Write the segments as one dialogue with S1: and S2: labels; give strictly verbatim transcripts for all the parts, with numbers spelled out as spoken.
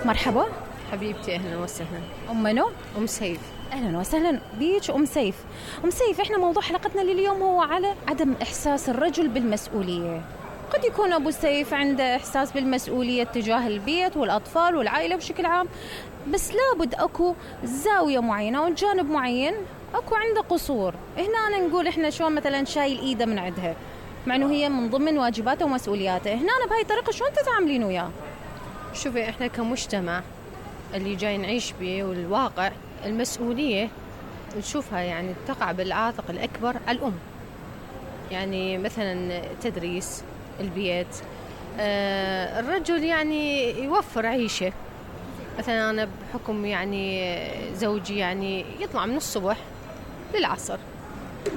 S1: مرحبا.
S2: حبيبتي أهلا وسهلا.
S1: أم منو؟
S2: أم سيف.
S1: أهلا وسهلا بيك أم سيف. أم سيف، إحنا موضوع حلقتنا لليوم هو على عدم إحساس الرجل بالمسؤولية. قد يكون أبو سيف عنده إحساس بالمسؤولية تجاه البيت والأطفال والعائلة بشكل عام، بس لابد أكو زاوية معينة وجانب معين أكو عنده قصور. هنا أنا نقول إحنا شلون مثلا شايل إيده من عندها، مع إنه هي من ضمن واجباته ومسؤولياته. هنا أنا بهاي الطريقة شلون تتعاملين وياه؟
S2: شوفي، إحنا كمجتمع اللي جاي نعيش به والواقع، المسؤولية نشوفها يعني تقع بالعاتق الأكبر على الأم. يعني مثلا تدريس البيت، آه الرجل يعني يوفر عيشة. مثلا أنا بحكم يعني زوجي يعني يطلع من الصبح للعصر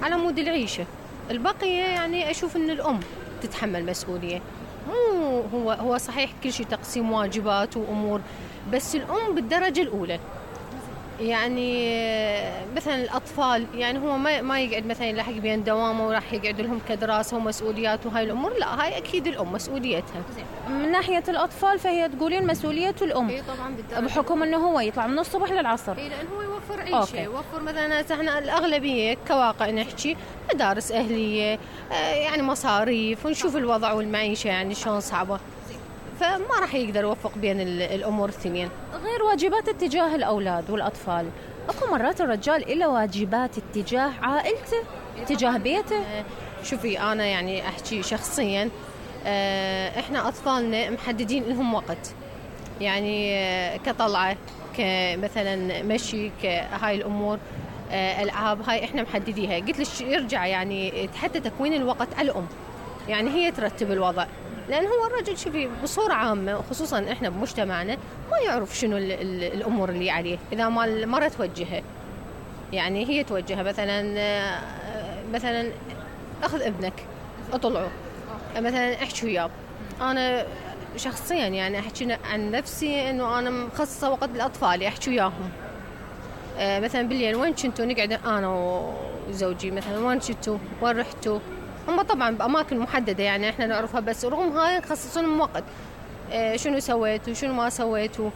S2: على مود العيشة، البقية يعني أشوف أن الأم تتحمل مسؤولية. مو هو هو صحيح كل شيء تقسيم واجبات وأمور، بس الأم بالدرجة الأولى. يعني مثلا الأطفال يعني هو ما ما يقعد مثلا يلاحق بين دوامه وراح يقعد لهم كدراسة ومسؤوليات وهاي الأمور، لا، هاي أكيد الأم مسؤوليتها.
S1: من ناحية الأطفال فهي تقولين مسؤولية الأم.
S2: إيه طبعا بالدرجة،
S1: بحكم أنه هو يطلع من الصبح للعصر.
S2: إيه لأن هو يوفر عيشة.
S1: أوكي.
S2: يوفر مثلا احنا الأغلبية كواقع نحكي مدارس أهلية، آه يعني مصاريف، ونشوف الوضع والمعيشة يعني شلون صعبة، فما راح يقدر يوفق بين الأمور الثنين.
S1: غير واجبات اتجاه الأولاد والأطفال، أكو مرات الرجال له واجبات اتجاه عائلته، اتجاه بيته.
S2: شوفي أنا يعني أحكي شخصيا، إحنا أطفالنا محددين لهم وقت، يعني كطلعة، كمثلا مشي، كهاي الأمور، ألعاب، هاي إحنا محدديها. قلت لك يرجع يعني حتى تكوين الوقت على الأم، يعني هي ترتب الوضع. لأن هو الرجل شوفي بصورة عامة، خصوصا إحنا بمجتمعنا، ما يعرف شنو ال ال الأمور اللي عليه إذا ما المرة توجهه. يعني هي توجهه مثلا مثلا أخذ ابنك أطلعه، مثلا أحكي وياه. أنا شخصيا يعني أحكي عن نفسي إنه أنا مخصصة وقت للأطفال أحكي وياهم. مثلا بالليل وين كنتوا، نقعد أنا وزوجي مثلا وين كنتوا، وين رحتوا. هم طبعا بأماكن محددة يعني إحنا نعرفها، بس رغم هاي نخصصون لهم وقت. إيه شنو سويتوا شنو ما سويتوا.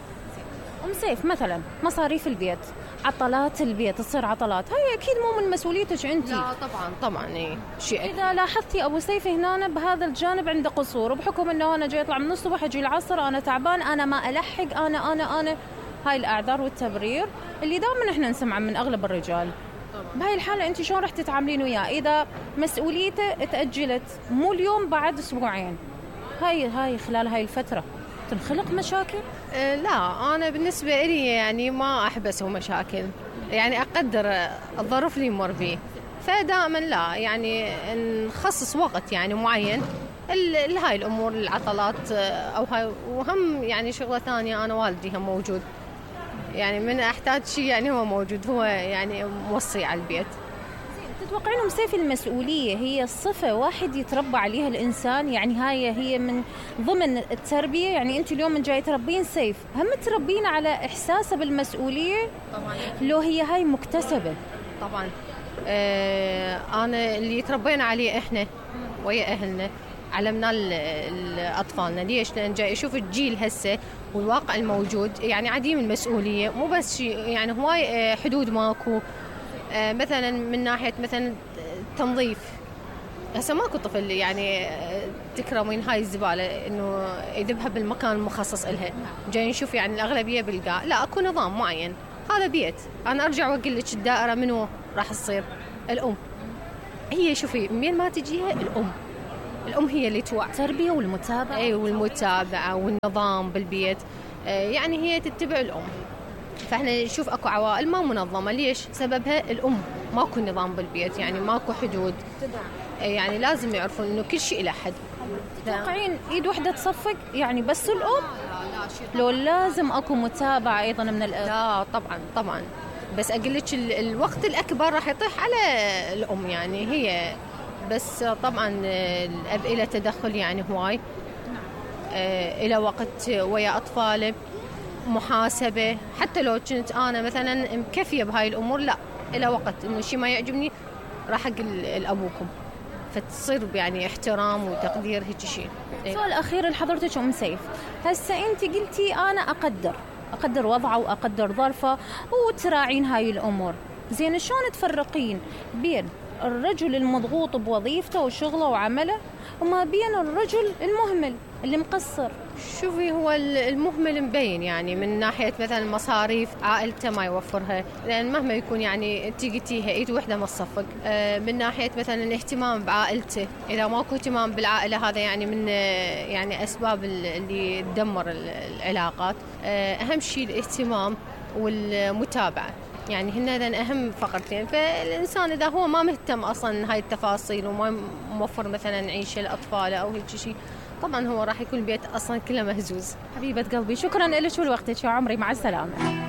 S1: أم سيف، مثلا مصاريف البيت، عطلات البيت، تصير عطلات، هاي أكيد مو من مسؤوليتك أنت.
S2: لا طبعا طبعا إيه شيء.
S1: إذا لاحظتي أبو سيف هنا بهذا الجانب عنده قصور، وبحكم أنه أنا جاي أطلع من الصبح أجي العصر، أنا تعبان، أنا ما ألحق، أنا أنا أنا هاي الأعذار والتبرير اللي دائما إحنا نسمعها من أغلب الرجال. بهاي الحالة أنت شلون رح تتعاملين وياه إذا مسؤوليته تأجلت مو اليوم بعد أسبوعين؟ هاي هاي خلال هاي الفترة تنخلق مشاكل؟
S2: أه لا، أنا بالنسبة لي يعني ما أحب أسوي مشاكل، يعني أقدر الظرف اللي يمر بيه، فدائما لا يعني نخصص وقت يعني معين لهاي الأمور، العطلات أو هاي. وهم يعني شغلة ثانية، أنا والدي هم موجود، يعني من أحتاج شيء يعني هو موجود، هو يعني موصي على البيت.
S1: تتوقعين أم سيف المسؤولية هي صفة واحد يتربى عليها الإنسان؟ يعني هاي هي من ضمن التربية، يعني أنت اليوم من جاي تربين سيف، هم تربين على إحساسه بالمسؤولية؟
S2: طبعا.
S1: لو هي هاي مكتسبة؟
S2: طبعا. آه أنا اللي تربينا عليه إحنا ويا أهلنا، علمنا لأطفالنا. ليش؟ لأن جاي أشوف الجيل هسه والواقع الموجود يعني عديم المسؤولية، مو بس شيء يعني هواي حدود ماكو. آه مثلا من ناحية مثلا تنظيف، هسه ماكو طفل يعني تكرمين هاي الزبالة إنه يذبها بالمكان المخصص إلها. جاي نشوف يعني الأغلبية بالقاع، لا أكو نظام معين. هذا بيت، أنا أرجع وأقول لك الدائرة منو راح تصير؟ الأم. هي شوفي من ما تجيها الأم، الأم هي اللي توعي.
S1: التربية والمتابعة.
S2: أي والمتابعة والنظام بالبيت، يعني هي تتبع الأم. فإحنا نشوف أكو عوائل ما منظمة، ليش؟ سببها الأم، ماكو نظام بالبيت، يعني ماكو حدود، يعني لازم يعرفون إنه كل شيء له حد.
S1: تتوقعين إيد واحدة تصفق يعني بس الأم؟ لو لازم أكو متابعة أيضا من الأب؟
S2: لا طبعا طبعا، بس أقول لك الوقت الأكبر راح يطيح على الأم، يعني هي بس. طبعا الأب إلى تدخل يعني هواي، إلى وقت ويا أطفاله، محاسبة. حتى لو كنت أنا مثلا مكفية بهاي الأمور، لا، إلى وقت إنه شيء ما يعجبني راح أقول لأبوكم. فتصير يعني احترام وتقدير هيك شيء.
S1: سؤال أخير لحضرتك أم سيف، هسه أنت قلتي أنا أقدر أقدر وضعه وأقدر ظرفه وتراعين هاي الأمور، زين شلون تفرقين بين الرجل المضغوط بوظيفته وشغله وعمله وما بين الرجل المهمل اللي مقصر؟
S2: شوفي، هو المهمل مبين يعني من ناحية مثلا مصاريف عائلته ما يوفرها، لأن مهما يكون يعني انتي قلتيها ايد وحدة ما تصفق. من ناحية مثلا الاهتمام بعائلته، إذا ماكو اهتمام بالعائلة هذا يعني من يعني أسباب اللي تدمر العلاقات. أهم شيء الاهتمام والمتابعة، يعني هن هذين أهم فقرتين. فالإنسان إذا هو ما مهتم أصلا هاي التفاصيل وما موفر مثلا عيشة لأطفاله أو هيك شيء، طبعا هو راح يكون البيت أصلا كله مهزوز.
S1: حبيبة قلبي، شكرا لك ولوقتك يا عمري، مع السلامة.